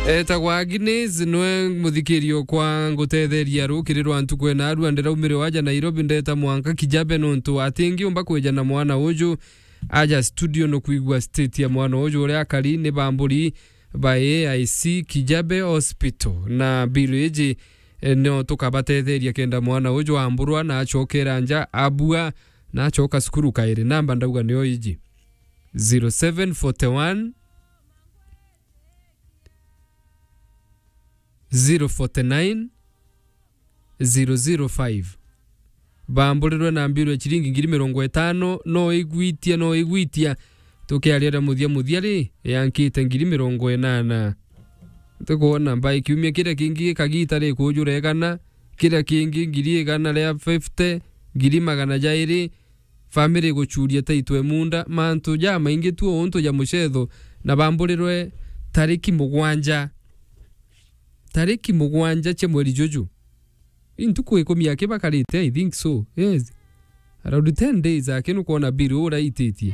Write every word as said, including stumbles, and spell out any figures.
Etagwa Agnes, nwe muthikirio kwa ngutetheria rukiri rwa ntuku ena arua ndiraumire waja Nairobi ndeta mwanka Kijabe nontu atingiumba kwija na mwana uju aja studio no kwigua state ya mwana uju uria akari ni bamburi ba A I C Kijabe Hospital na bill iji, eh, no tukabatetheria kenda mwana uju amburwa na achokera nja abua na achoka cukuru kairi. Namba ndauga niyo iji. Zero seven forty one, zero forty nine, zero zero five. Bamburirwe na mbirwe ciringi ngiri mirongo itano, no igwitia, no igwitia. Tukiaria ria muthia muthia ri, yankite ngiri mirongo inana. Tukwona mbai kiumia kiria kingi gikagita ri kujura igana, kiria kingi ngiri igana ria fifty, ngiri magana jairi, family guchuria taitwe munda, mantu jamaingi tu untu ja mucetho, na bamburirwe tariki mugwanja. Tariki mugwanja cia mweri juju. Intuku ikumi aki bakarite, I think so. Yes. Around ten days aki nukwona bill uraititie.